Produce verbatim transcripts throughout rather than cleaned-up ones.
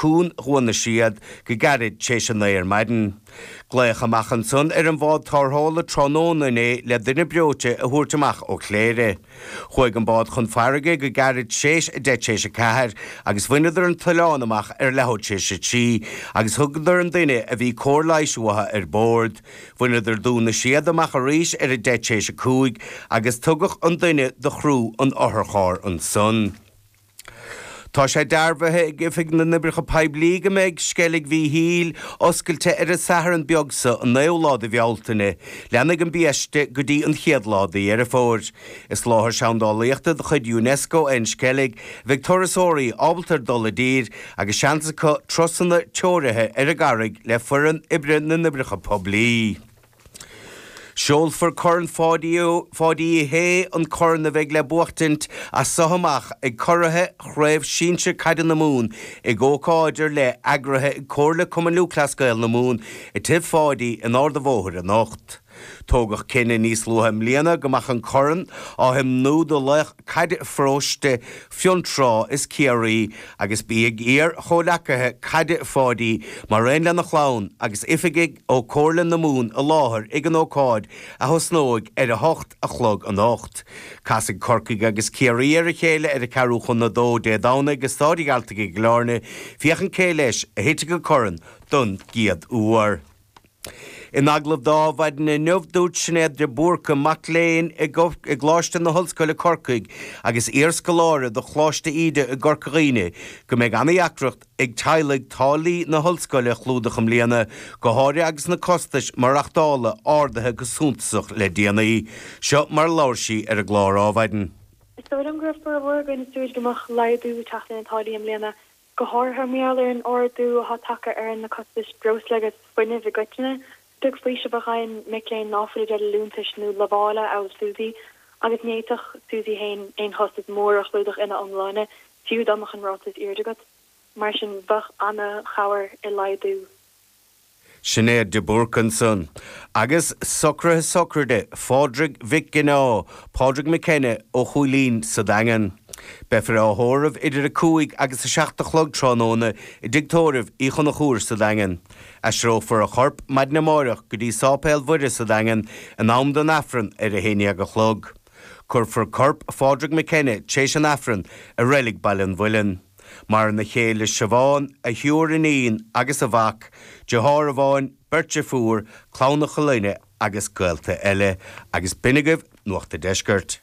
Cuan Dhún na Séad go gairid tar éis a naoi ar maidin. Glaodh amach ansan ar an bhád tarrthála tráthnóna inné le duine breoite a thabhairt amach ó Chléire. Chuaigh an bád chun farraige go gairid tar éis a deich tar éis a ceathair agus bhaineadar an t-oileán amach ar leathuair tar éis a trí agus thugadar an duine a bhí cóir leighis uathu ar bord. Bhaineadar Dún na Séad amach arís ar a deich tar éis a cúig agus tugadh an duine do chriú an otharchairr ansan. Tá sé dearbhaithe ag oifig na n-oibreacha poiblí go mbeidh Sceilg Mhichíl oscailte ar an Satharn beag seo an naoú lá de Bhealtaine, leanfaidh an biaiste go dtí an chéad lá de Dheireadh Fómhair. Is láthair seandálaíochta de chuid UNESCO an Sceilg bheidh turasóirí ábalta dul i dtír agus seans acu turasanna treoraithe ar an gcarraig le foireann oibre na n-oibreacha poiblí. Seolfar Corn Pháidí Uí Shé an corn a bheidh le buachtaint as seo amach ag curaithe chraobh shinsir caide na Mumhan ag ócáid ar leith eagraithe ag Comhairle Cumann Lúthchleas Gael na Mumhan i dTigh Pháidí in Ard an Bhóthair anocht. Tógadh cinneadh níos luaithe i mbliana go mbeadh an corn á thiomnú do laoch caide pharóiste Fionntrá is Ciarraí agus beidh iar-chomhleacaithe caide Pháidí mar aon lena chlann agus oifigigh ó Comhairle na Mumhan i láthair ag an ócáid a thosnóidh ar a hocht a chlog anocht. Casfaidh Corcaigh agus Ciarraí ar a chéile ar a ceathrú chun a dó Dé Domhnaigh i Staid an Ghealtaigh i gCill Airne, féachaint cé leis a thitfidh an corn don gcéad uair. In agallamh d'Adhmhaidin inniu dúirt Sinéad de Búrca mac léinn i gColáiste na hOllscoile Corcaigh agus iarscoláire do Choláiste Íde i gCorca Dhuibhne go mbeidh an-deacracht ag teaghlaigh táillí na hollscoile a chlúdach i mbliana go háirithe agus na costais maireachtála ardaithe go suntasach le déanaí. Seo mar labhair sí ar an gclár Adhmhaidin. Is dóigh liom go raibh formhór againn ag súil go mbeadh laghdú ag teacht ar na táillí i mbliana go háirithe mar gheall ar an ardú atá tagtha ar na costais breosla agus fuinnimh i gcoitinne. Beag faoiseamh a fhaigheann mic léinn ná fuil ag liúntais nó lamhála amhail Suzy, agus ní fhéadfadh Suzy féin aon chostas mór a chlúdach ina iomláine fiú dá mbeadh an ráta is airde agat. Mar sin bheadh an-chabhair i laghdú. Sinéad de Búrca ansan. Agus socruithe sochraide Phádraig Mhic Gineá, Pádraig McKenna ó Chúilín sa Daingean. Beifear á thórramh idir a cúig agus a seacht a chlog tráthnóna i dtigh tórraimh Uí Chonchúir sa Daingean. Aistreofar a chorp maidin amárach go dtí Sáipéal Mhuire sa Daingean in am don Aifreann ar a haon déag a chlog. Cuirfear corp Phádraig McKenna tar éis an Aifrinn i reilig Baile an Mhuilinn. Maireann a chéile Siobhán, a thriúr iníon agus a mhac, deartháir amháin, beirt deirfiúr, clann a chlainne agus gaolta eile, agus b'in agaibh Nuacht an Deiscirt.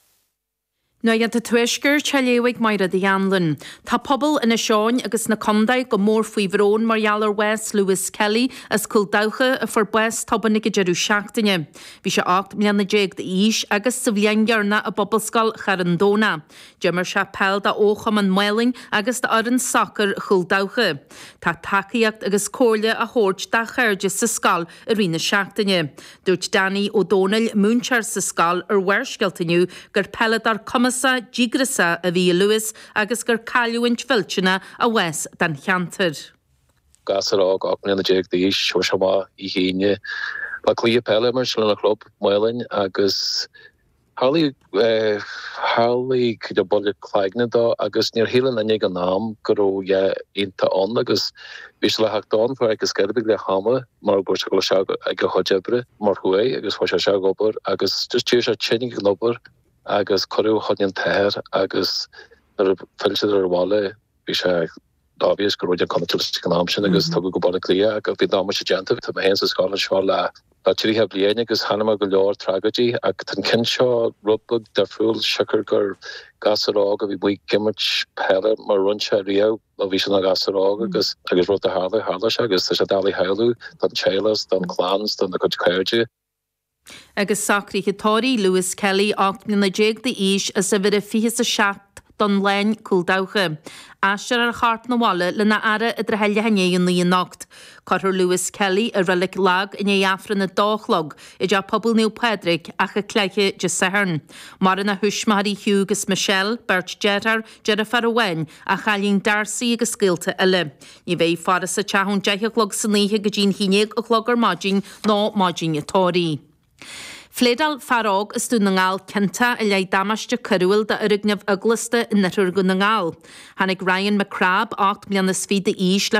Nuacht an Tuaiscirt á léamh ag Máire Uí Anluain. Tá pobal Inis Eoghain agus na contae go mór faoi bhrón mar gheall ar bhás Lewis Kelly as Cúil Dabhcha a fuair bás tobann ag an deireadh seachtaine. Bhí sé ocht mbliana déag d'aois agus sa bhliain dheireanach i bPobalscoil Charn Domhnach. D'imir sé peil do Chumann Málainn agus d'fhoireann sacair Chúil Dabhcha. Tá tacaíocht agus comhairle á thabhairt dá chairde sa scoil i rith na seachtaine. Dúirt Danny Ó Dónaill múinteoir sa scoil ar Bharrscéalta inniu gur peileadóir cumasach díograiseach a bhí i Lewis agus gur cailliúint mhillteanach a bhás don cheantar. Gasúr óg ocht mbliana déag d'aois chuaigh sé amach oíche Aoine le cluiche peile mar sin lena chlub Málainn agus tharlaigh tharlaigh buille cloigne dó agus níor shíl aon duine ag an am go raibh a dhath iontach ann agus bhí sé le theacht ann agus sceirb le hama mar go raibh sé ag a chuid oibre mar chuaigh agus fuair sé sé ag obair agus just d'éirigh sé tinn ag an obair agus cuireadh chun an t-othar agus nuair a phill siad ar bhaile bhí sé obvious go raibh an contúirt ag an am sin agus tugadh go Baile Átha Cliath agus bhí damáiste déanta tá mé féin sa scoil seo le le tríocha bliain agus chonaic mé go leor tragóidí ach tá an ceann seo rud beag difriúil siocair gur gasúr óg a bhí amuigh ag imirt peile mar rinne sé riamh ó bhí sé ina ghasúr óg agus agus rud a tharla tharla sé agus tá sé doiligh a shamhlú don teaghlach don chlann don na cuid cairde. Agus socruithe tórraimh Lewis Kelly ocht mbliana déag d'aois as uimhir a fiche a seacht don Láin Cúil Dabhcha. Aistreofar a chorp 'na bhaile lena fhaire i dtrátha leath i ndiaidh a naoi anocht. Cuirfear Lewis Kelly i reilig Lag i ndiaidh Aifreann a dó a chlog i dteach pobail Naomh Pádraig Achadh Cléithe Dé Sathairn. Maireann a thuismitheoirí Hugh agus Michelle, beirt deartháir, deirfiúr amháin, a chailín Darcy agus gaolta eile. Ní bheidh faire sa teach ón deich a chlog san oíche go dtí an haon déag a chlog ar maidin nó maidin an tórraimh. Phléadáil fear óg as Dún na nGall ciontach i leith damáiste coiriúil d'fhoirgneamh eaglasta in oirthear Dhún na nGall. Tháinig Ryan McCrab ocht mbliana is fiche d'aois le